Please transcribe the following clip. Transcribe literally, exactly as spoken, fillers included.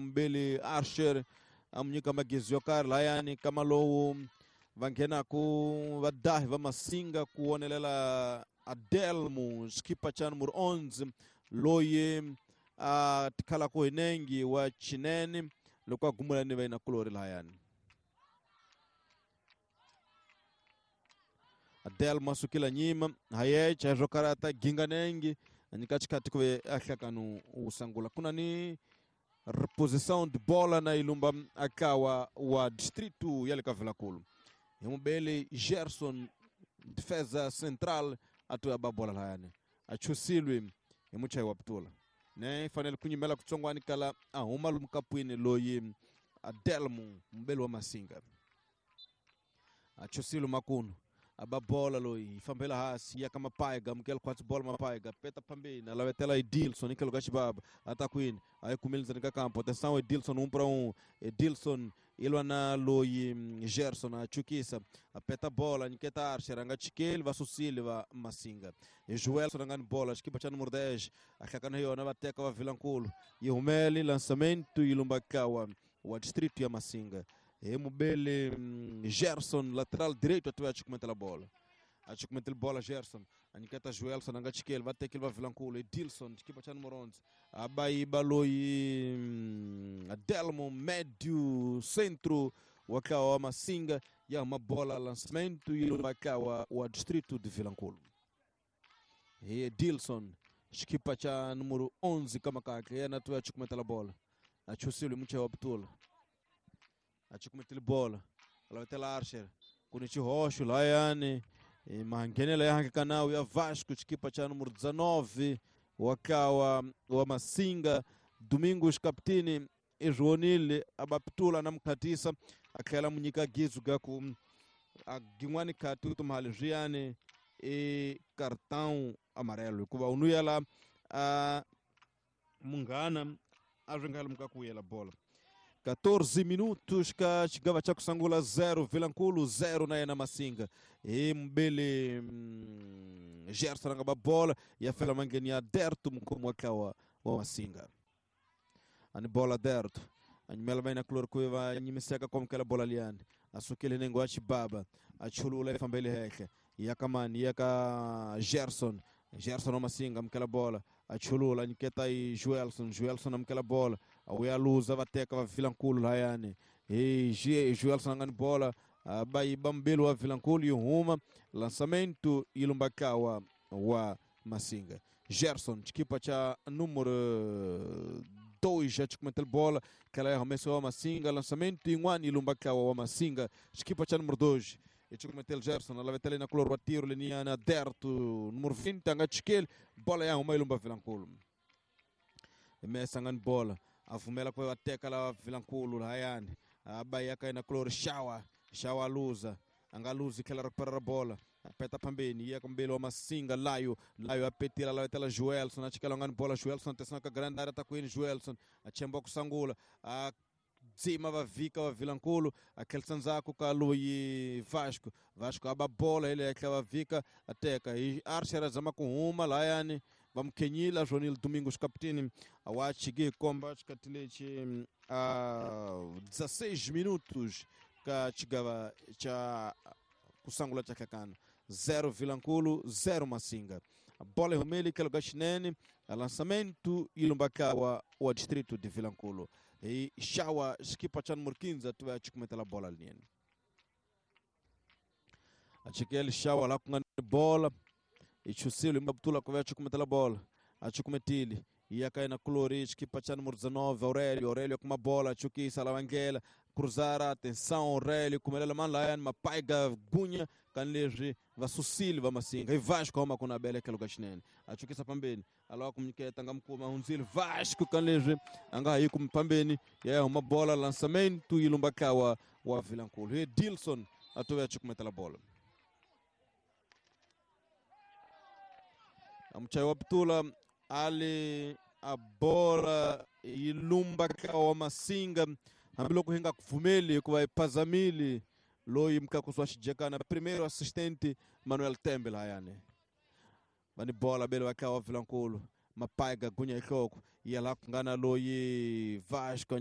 Mbili Archer a mu nyika magezi yo karhi layani kama lowu va nghenaku vadahi va Masinga ku wonelela Adelmo xikipa xa numero onze loyi a tikhalaku hi nengi wa Chinene loko a gumula ni va kulori layani. Adelmo a sukile nyima hayecha swo karata ginga nengi a nyika xikhathi ku ve a hlakanu wu sangula ku na ni reposição de bola na ilumba akawa wa distrito ya le ka Vilankulu. Hi mubeli Gerson defesa central atoya ba bola layani a chusilwe hi muchayi wa putula ne fanele ku nyimela kutsongwani kala a huma lomu kapwini loyi Adelmo mubeli wa Masinga a chusilwe makunu aba bola loyi fambela hasi ya kama paiga mukela kwatsi bola mapaiga peta pambeni alavetela Edilson ikelo ka xibaba atakwini ayikumiliza nika kampo atenção Edilson um para um Edilson ilwa na loyi Gerson achukisa apeta bola nyiketa Archer anga chikeli vasusile va Masinga Joelson anga ni bola xikipa xa número dez ahlakana yona va teka va Vilankulu yi humele lançamento ilumba kawa wa distrito ya Masinga. E mubele Gerson lateral direito atuwa achukumentela bola achukumentela bola Gerson aniketa Joelson anga chikeli vatekeli va Vilankulu Edilson xikipa xa número onze abayiba loyi Adelmo médio centro wa kawa wa Masinga ya uma bola lançamento e wa wa distrito de Vilankulu. E Edilson xikipa xa número onze kama kake yena atuwa achukumentela bola achusile mucha wa Abdullah achukumetele bola alavetela Archer kuni xihoxo layani manghenela ya hanka ya Vasco xikipa xa número dezenove wa kawa wa Masinga Domingos Capitini izwonile abapitula na mukhatisa a tlhela mu nyika gizu ga ku a gin'wani khati ku tumhali swiyani i cartão amarelo hikuva u nuyela a munghana a swi nga lomu ka ku yela bola. quatorze minutos ka xigava xa ku sangula zero Vilankulu zero na yena Masinga. Hi mubeli Gerson anga ba bola ya fela mangeni ya Derto mukhomi wa ntlawa wa Masinga. Ani bola Derto anyimela va kulori ku va nyimiseka kwamukela bola liyani a sukile nengo wa xibaba a chulula yi fambele henhla ya ka mani ya ka Gerson Gerson wa Masinga amukela bola achulula nyiketa i Joelson Joelson amukela bola awuya luza va teka va Vilankulu layani hi Joelson anga ni bola abayiba mbili wa Vilankulu yi huma lançamento ilumba kawa wa Masinga. Gerson xikipa xa número dois já chukumetela bola kala ya arremesso wa Masinga lançamento yin'wana ilumba kawa wa Masinga xikipa xa número dois chukumetela Gerson alavetela na color wa tiro leniana Derto número vinte anga chikeli bola ya huma ilumba Vilankulu. Mesa anga ni bola avumela ku va teka la Vilankulu layani abayaka na color Shawa Shawa luza anga luzi tlhela recuperar bola apeta pambeni ya kumbele wa Masinga Layo Layo apetila alavetela Joelson achikela anga ni bola Joelson atenção ka grande área tá kwini Joelson achemba kusangula a dzima va vika va Vilankulu aquele sanzaku ka loyi Vasco Vasco aba bola ele é va vika ateka e Archer azama ku huma layani va mukhenyila Jonil Domingos Capitini awachiki komba xikatilechi a dezesseis minutos ka xigava xa kusangula xa hlakana zero Vilankulu zero Masinga. A bola rumeli que lugar xinene a lançamento ilumba kawa wa distrito de Vilankulu. E Shawa xikipa xa número quinze tuve achukumetela bola linene achikele Shawa la ku nga ni bola ichusile mbabutula ku ve achukumetela bola achukumetile ya ka yena kulori xikipa xa número dezenove Aurélio Aurélio com uma bola achukisa lavangela cruzar atenção Aurélio kumelela mani layani mapaiga gunya kani leswi va susile va Masinga i Vasco huma ku na bele eka luka xinene achukisa pambeni alawa ku nyiketa nga mukuma hundzile Vasco kani leswi a nga ha yi kumi pambeni ya huma bola lançamento yi lumba kawa wa Vilankulu hi Dilson a tove achukumetela bola amuchayi wa putula ali a bola yi lumba kawa wa Masinga hambiloko hi nga kupfumeli hikuva yi phazamile loyi mkakusi wa xijekana primeiro assistente Manuel Tembe layani va ni bola bele va kawa Vilankulu Mapaiga gunya hi nhloko ya laha ku nga na loyi Vasco.